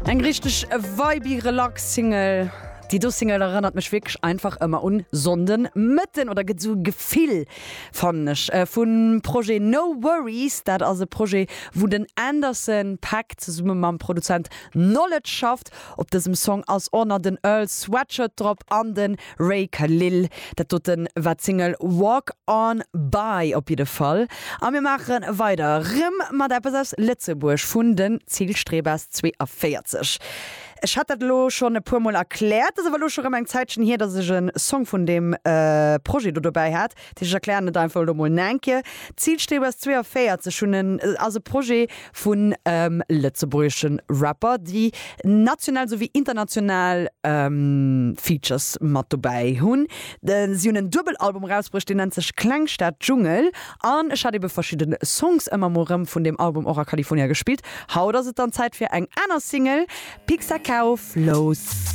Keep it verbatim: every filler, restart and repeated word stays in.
Eng richteg vibey relax Single. Déi do Single erënnert mech wierklech einfach ëmmer un Sonnden Mëtten oder gëtt sou Gefill fannen ech vum Projet No Worries. Dat ass e Projet wou den Anderson .Paak zesumme mam Produzent Knxwledge schafft. Op dësem Song ass och nach den Earl Sweatshirt drop an den Ray Khalil. Dat doten war d'Single Walk On By op jidde Fall. A mir maache weider rëm mat eppes aus Lëtzebuerg vun den Zielstrebers zweeavéierzeg. Ech hat dat lo schonn e puer Mol erkläert, ass awer lo scho rëm eng Zäitchen hier, dass ech en Song vun deem Projet do dobäi hat. Dat heescht, ech erklären et einfach elo mol nach eng Kéier. Zielstrebers zweeavéierzeg hunn en, ass e Projet vun lëtzebuergesche Rapper, déi national souwéi international Features mat dobäi hunn. Si hunn en Duebel-Album erausbruecht, deen nennt sech Klengstad Dschungel an ech hat ebe verschidde Songs ëmmer mol rëm vun deem Album och a California gespillt. Haut ass et dann Zäit fir eng aner Single, Pixacao Flows.